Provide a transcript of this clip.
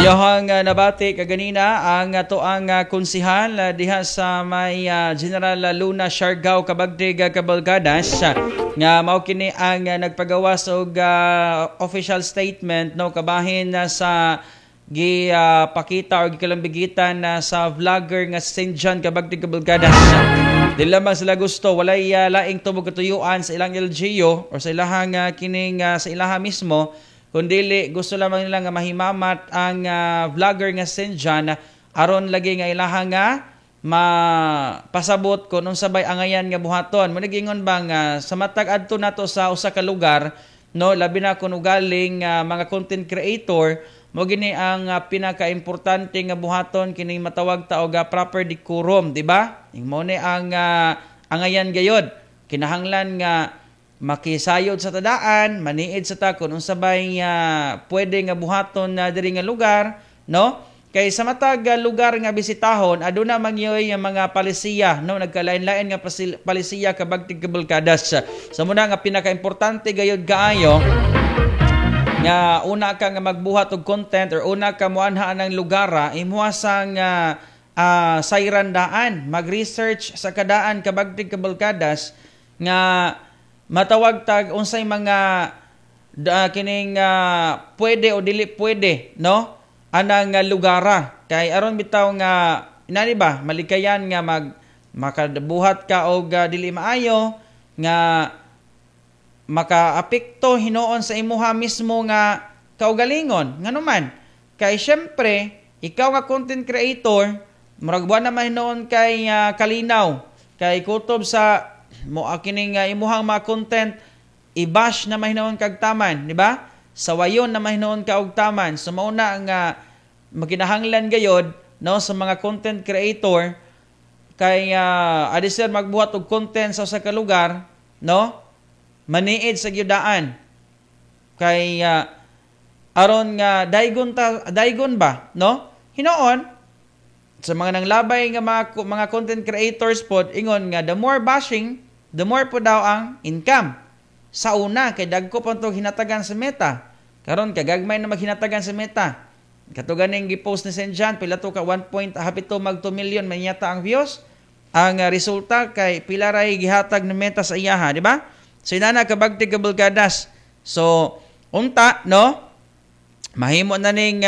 Ayahang nabati kaganina ang atoang konsihal diha sa may General Luna, Siargao, Kabagdig, Cabalgadas, nga mao kini ang nagpagawas og official statement, no, kabahin na sa gi pakita or gikalambigitan na sa vlogger nga St. John Kabagdig Cabalgadas. Di lamang sila gusto, walay laing tubog katuyuan sa ilang LGU or sa ilahang kining sa ilaha mismo, kundili gusto lamang nila nga mahimamat ang vlogger nga St. John aron lagi nga ilaha nga mapasabot kung unsa bay angayan nga buhaton. Mo nagingon ba nga sa matag adto nato sa usa ka lugar, no, labi na kung ugaling mga content creator mo, gini ang pinakaimportante nga buhaton kining matawag ta og proper decorum, di ba? Mo ni ang angayan gayod, kinahanglan nga makisayod sa tadaan, maniid sa ta kung unsa bay pwede nga buhaton na diri nga lugar, no? Kay sa matag lugar nga bisitahon, aduna man yoy ang mga palisiya, no, nagkalain-lain nga palisiya, Kabagtig Kabulkadas. Sa muna nga pinakaimportante gayod kaayo nga una ka nga magbuhat og content or una ka moanha ng lugar, imuha sang sayran daan, mag-research sa kadaan, Kabagtig Kabulkadas, nga matawag tag unsay mga kining pwede o dili pwede, no, anang lugara, kay aron bitaw nga inani ba malikayan nga mag makabuhat ka og dili maayo nga makaapekto hinuon sa imuha mismo nga kaugalingon. Ngano man kay syempre ikaw nga content creator, murag wa naman hinuon kay kalinaw kay kutob sa mo kining imuhang mga content i-bash na mahinuon kag taman, di ba? Sawayon na mahinuon ka og taman. So mao na nga makinahanglan gayod, no, sa mga content creator kay adi sir magbuhat og content sa usa ka lugar, no, maniid sa gyudaan kay aron nga daygon ta, daygon ba, no? Hinuon sa mga nanglabay nga mga content creators pod, ingon nga the more bashing, the more po daw ang income. Sa una kay dagko pa tong hinatagan sa Meta. Karon kagagmay na maghinatagan sa Meta. Kato ganing gi-post ni St. John, pila to ka 1 point hapit to mag 2 million man yata ang views. Ang resulta kay pila ray gihatag ng Meta sa iyaha, di ba? So inana, Kabagtig Kabulkadas. So unta, no, mahimo na ning